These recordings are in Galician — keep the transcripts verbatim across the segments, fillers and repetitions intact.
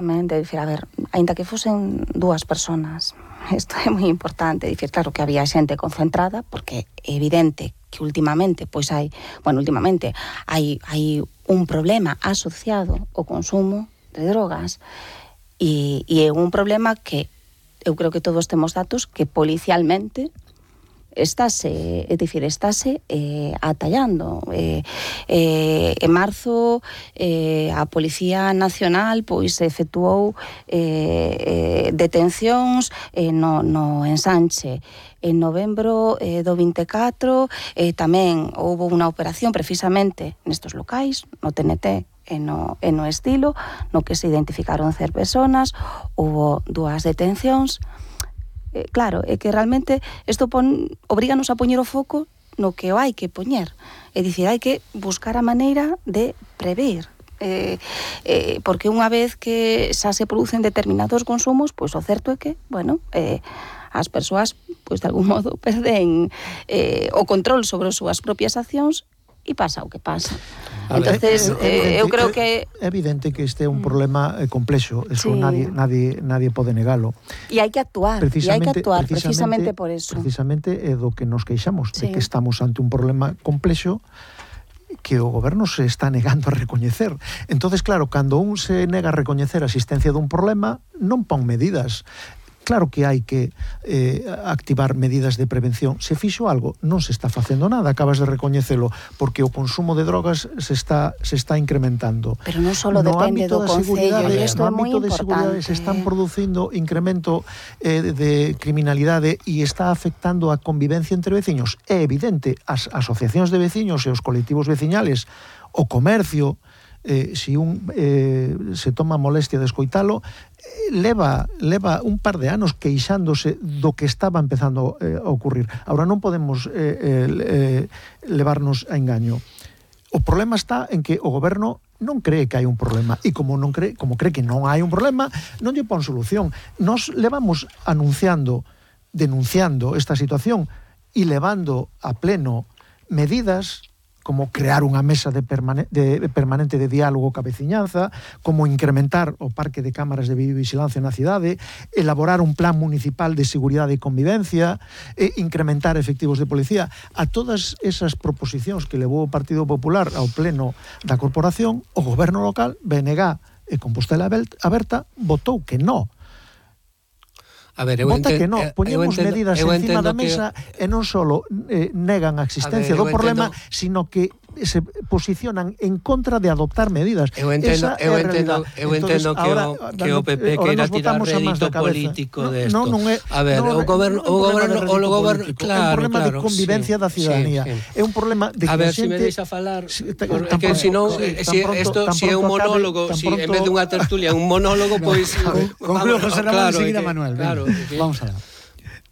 Dicir, a ver, aínda que fosen dúas personas, isto é moi importante, dicir, claro que había xente concentrada, porque é evidente que últimamente, pois hai, bueno, últimamente hai, hai un problema asociado ao consumo de drogas, e, e é un problema que eu creo que todos temos datos que policialmente estáse, é dicir, estáse eh, atallando. Eh, eh, en marzo eh, a Policía Nacional pois efectuou eh, eh, detencións eh, no, no ensanche. En novembro eh, do vinte e catro eh, tamén houve unha operación precisamente nestos locais, no T N T e no, e no Estilo, no que se identificaron cer personas, houve dúas detencións. Eh, claro, é que realmente isto pon, obríganos a poñer o foco no que o hai que poñer. É dicir, hai que buscar a maneira de prever. Eh, eh, porque unha vez que xa se producen determinados consumos, pois o certo é que, bueno, eh, as persoas, pois de algún modo, perden eh, o control sobre as súas propias accións e pasa o que pasa. Entonces, eh, eu creo que é evidente que este é un problema eh, complexo, eso sí. nadie nadie nadie pode negalo. E hai que actuar, e hai que actuar precisamente, precisamente por eso. Precisamente é do que nos queixamos, sí. de que estamos ante un problema complexo que o goberno se está negando a recoñecer. Entonces, claro, cando un se nega a recoñecer a existencia dun problema, non pon medidas. Claro que hai que eh, activar medidas de prevención. Se fixo algo, non se está facendo nada, acabas de recoñecelo, porque o consumo de drogas se está se está incrementando. Pero non só depende do Concello, e isto é moi importante. No ámbito de seguridade se están producindo incremento eh, de criminalidade e está afectando a convivencia entre veciños. É evidente, as asociacións de veciños e os colectivos veciñales, o comercio, Eh, si un eh, se toma molestia de escoitalo, eh, leva, leva un par de anos queixándose do que estaba empezando eh, a ocurrir. Ahora non podemos eh, eh, levarnos a engaño. O problema está en que o goberno non cree que hai un problema, e como non cree, como cree que non hai un problema, non lle pon solución. Nos levamos anunciando, denunciando esta situación e levando a pleno medidas como crear unha mesa de, permane de permanente de diálogo ca veciñanza, como incrementar o parque de cámaras de videovigilancia na cidade, elaborar un plan municipal de seguridade e convivencia, e incrementar efectivos de policía. A todas esas proposicións que levou o Partido Popular ao pleno da corporación, o goberno local, B N G e Compostela Aberta, votou que non. A ver, eu Vota enten, que non, poñemos entendo, medidas encima da mesa que... e non só eh, negan a existencia a ver, do problema, entendo... sino que se posicionan en contra de adoptar medidas. Eu entendo, eu entendo, eu Entonces, entendo que, ahora, o, que o P P queira tirar rédito político no, de isto. No, non é, a ver, no, o goberno, o goberno, o goberno, claro, é un problema claro, de convivencia sí, da ciudadanía. Sí, sí. É un problema de que a ver, a xente... si me deixa falar, si, porque se non, si isto si é un monólogo, si en vez de unha tertulia, un monólogo, pois concluo José Ramón e seguida Manuel. Claro, vamos a ver.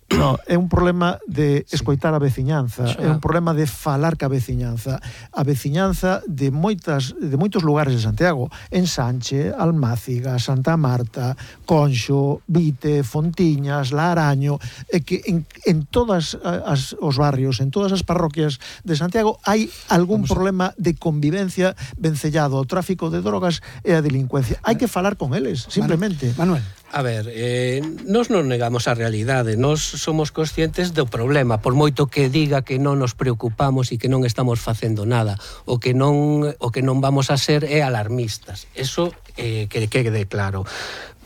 No, é un problema de escoitar a veciñanza, é un problema de falar ca veciñanza. A veciñanza de moitas de moitos lugares de Santiago, Ensanche, Almáciga, Santa Marta, Conxo, Vite, Fontiñas, La Araño, é que en, en todas as os barrios, en todas as parroquias de Santiago hai algún Vamos problema de convivencia vencellado ao tráfico de drogas e a delincuencia. Hai que falar con eles, simplemente. Manuel. A ver, eh, nos non negamos a realidade, nos somos conscientes do problema, por moito que diga que non nos preocupamos e que non estamos facendo nada, o que non o que non vamos a ser é alarmistas. Eso eh, que quede claro.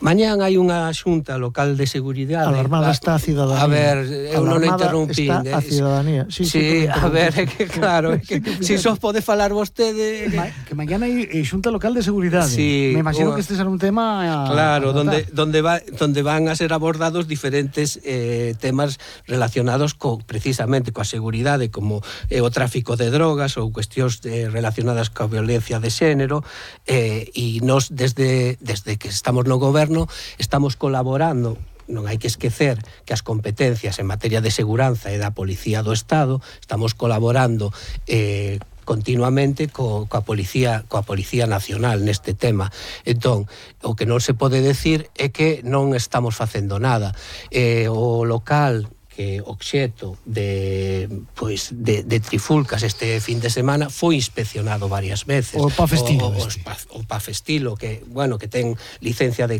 Mañán hai unha xunta local de seguridade. Alarmada está a cidadanía. A ver, eu non interrumpín. Está a cidadanía. Sí, sí, sí a ver, é que claro, é que si só pode falar vostede que, Ma, que mañana hai xunta local de seguridade. Sí, me imagino o, que este será un tema a, claro, a donde donde va donde van a ser abordados diferentes eh, temas relacionados co precisamente coa seguridade, como eh, o tráfico de drogas ou cuestións eh, relacionadas coa violencia de xénero, eh, e nos desde desde que estamos no goberno estamos colaborando. Non hai que esquecer que as competencias en materia de seguranza e da Policía do Estado estamos colaborando eh, continuamente co, coa Policía coa Policía Nacional neste tema. Entón, o que non se pode decir é que non estamos facendo nada. Eh, o local que obxeto de pois de, de trifulcas este fin de semana foi inspeccionado varias veces. O Pafestilo. O, o, o, o Pafestilo, que, bueno, que ten licencia de